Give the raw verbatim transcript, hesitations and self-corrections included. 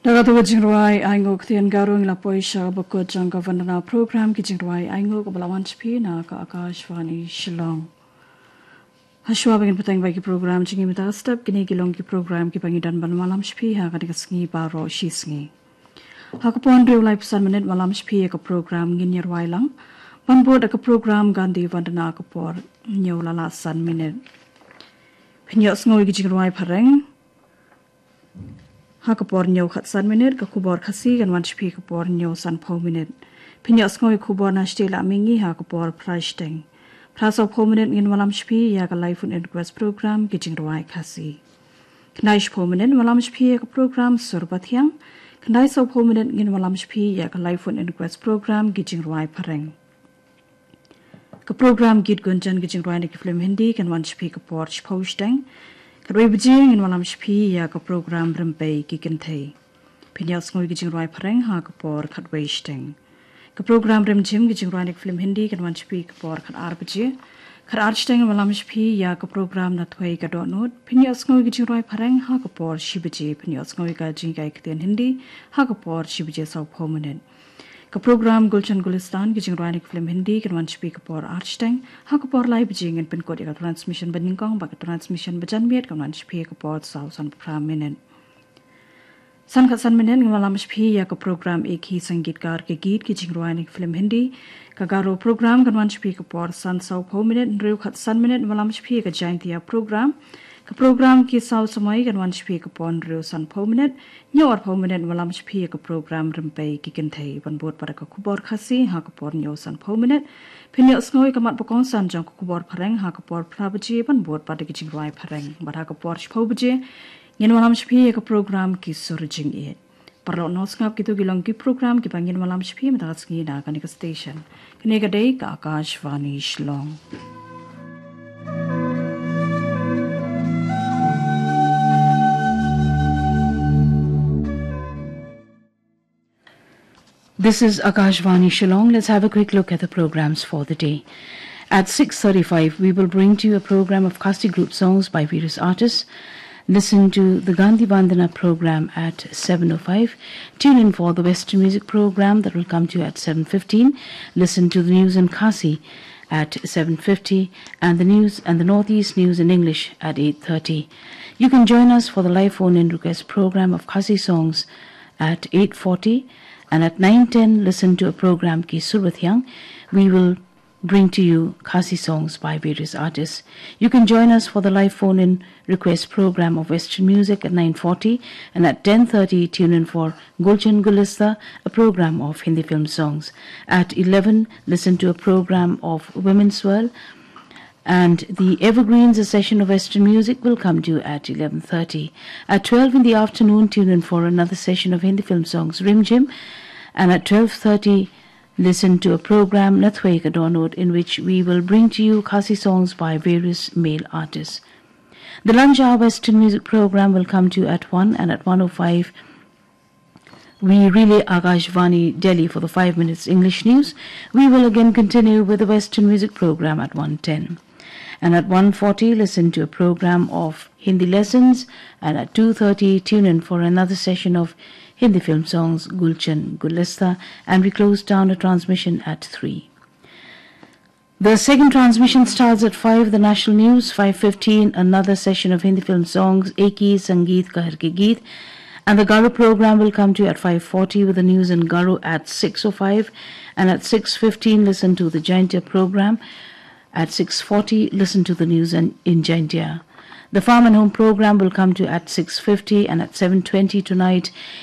Da katu ka jingrwai ainguh ktien Garo ngi la poi sha ka bakut jong ka Vandana program, ki jingrwai ainguh kaba la wan sha phi na ka Akashvani Shillong. Hashwa ba ngin bteng bad ki program jong ngi mynta ka step, kine ki long ki program kiba ngi don ban wallam sha phi ha kane ka sngi baroh shi sngi. Ha ka por hynriew laiphew san minit wallam sha phi ïa ka program Ngin Ïa Rwai Lang, ban bud da ka program Gandhi Vandana ha ka por hynñiew la lah san minit. Phin ïohsngew ïa ki jingrwai phareng ha ka por hynñiew khatsan minit, ka khubor Khasi kan wan sha phi ka por hynñiew sanphew minit. Phin ïohsngew ïa ka khubor na shatei la mihngi ha ka por phra shiteng. Phra sawphew minit ngin wallam sha phi ïa ka live phone in request program Ki Jingrwai Khasi. Khyndai shiphew minit wallam sha phi ïa ka program Sur Bathiang. Khyndai sawphew minit ngin wallam sha phi ïa ka live phone in request program Ki Jingrwai Phareng. Ka program Geet Gunjan, ki jingrwai na ki film Hindi, kan wan sha phi ka por shiphew shiteng. Khatwei baje ngin wallam sha phi ïa ka program Rympei Ki Kynthei. Phin ïohsngew ïa ki jingrwai phareng ha ka por khatwei shiteng. Ka program Rimjhim, ki jingrwai na ki film Hindi, kan wan sha phi ka por khatar baje. Khatar shiteng ngin wallam sha phi ïa ka program Nathwei Ka Dohnud. Phin ïohsngew ïa ki jingrwai phareng ha ka por shi baje. Phin ïohsngew ïa ka jinghikai ktien Hindi ha ka por shi baje sawphew minit. Ka program Gulshan Gulistan, ki jingrwai na ki film Hindi, kan wan sha phi ka por ar shiteng. Ha ka por lai baje ngin pynkut ïa ka transmission banyngkong bad ka transmission bajanmiet kan wan sha phi ka por saw sanphew phra minit. San khatsan minit ngin wallam sha phi ïa ka program Ek Hi Sangeetkar Ke Geet, ki jingrwai na ki film Hindi. Ka Garo program kan wan sha phi ka por san sawphew minit, hynriew khatsan minit ngin wallam sha phi ïa ka Jaintia program. Ka program Ki Saw Samoi kan wan sha phi ka por hynriew sanphew minit. Hynñiew arphew minit ngin wallam sha phi ïa ka program Rympei Ki Kynthei, ban bud pat da ka khubor Khasi ha ka por hynñiew sanphew minit. Phin ïohsngew ïa ka mat ba kongsan jong ka khubor phareng ha ka por phra baje, ban bud pat da ki jingrwai phareng. Bad ha ka por shiphew baje ngin wallam sha phi ïa ka program Ki Sur Jingïeit. Paralok nongsngap, kito ki long ki program kiba ngin wallam sha phi mynta ka sngi na kane ka station. Kane ka dei ka Akashvani Shillong. This is Akashvani Shillong. Let's have a quick look at the programs for the day. At six thirty-five, we will bring to you a program of Khasi group songs by various artists. Listen to the Gandhi Vandana program at seven oh five. Tune in for the Western music program that will come to you at seven fifteen. Listen to the news in Khasi at seven fifty, and the news and the Northeast news in English at eight thirty. You can join us for the live phone-in request program of Khasi songs at eight forty, and at nine ten, listen to a program Ki Sur Bathiang. We will bring to you Khasi songs by various artists. You can join us for the live phone-in request program of Western music at nine forty, and at ten thirty, tune in for Gulshan Gulista, a program of Hindi film songs. At eleven, listen to a program of Women's World. And the Evergreens, a session of Western music, will come to you at eleven thirty. At twelve in the afternoon, tune in for another session of Hindi film songs, Rimjhim. And at twelve thirty, listen to a program, Nathwei Ka Dohnud, in which we will bring to you Khasi songs by various male artists. The lunch hour Western music program will come to you at one, and at one oh five, we relay Akashvani Delhi for the five minutes English news. We will again continue with the Western music program at one ten. And at one forty, listen to a program of Hindi lessons. And at two thirty, tune in for another session of Hindi film songs, Gulshan Gulista. And we close down the transmission at three. The second transmission starts at five, the national news, five fifteen, another session of Hindi film songs, Ek Hi Sangeetkar Ke Geet. And the Garo program will come to you at five forty with the news in Garo at six oh five. And at six fifteen, listen to the Jaintia program. At six forty, listen to the news in, in Jaintia. The Farm and Home program will come to you at six fifty, and at seven twenty tonight,